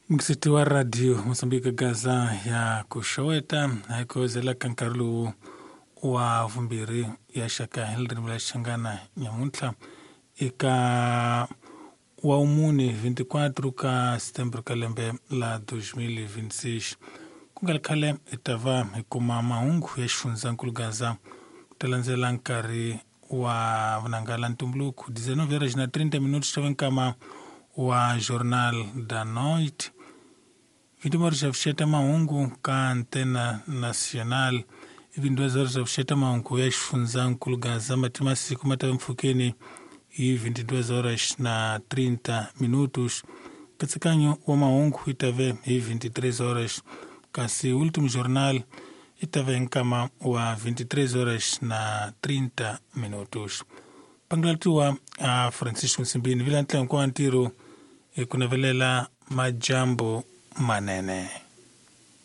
Mukisiti wa radio Mosambiki Gaza ya kuxoweta hayikozela ka nkarhi lowu wa vumbirhi ya xaka hi ririmi ra Xichangana nyamuntlha eka wa vumune 24 ka Setembro ka lembe la 2026. Ku nga ri khale hi ta va hi kuma mahungu ya xifundzankulu Gaza ku ta landzela nkarhi wa vunanga la ntumbuluko 19 horas na 30 minutos ta nkama wa Jornal da Noite. 21 horas xa mahungu ka Antena Nacional. 22 horas xa mahungu ya xifundzankulu Gaza mati masiku ma ta mpfhukeni hi 22 horas na 30 minutos. Nkatsakanyo wa mahungu yi ta ve hi 23 horas, kasi Último Jornal yi ta ve nkama wa 23 horas na 30 minutos. Pangalatiwa a Francisco Nsimbini vila ntlangu wa ntirho hi ku navelela majambu manene.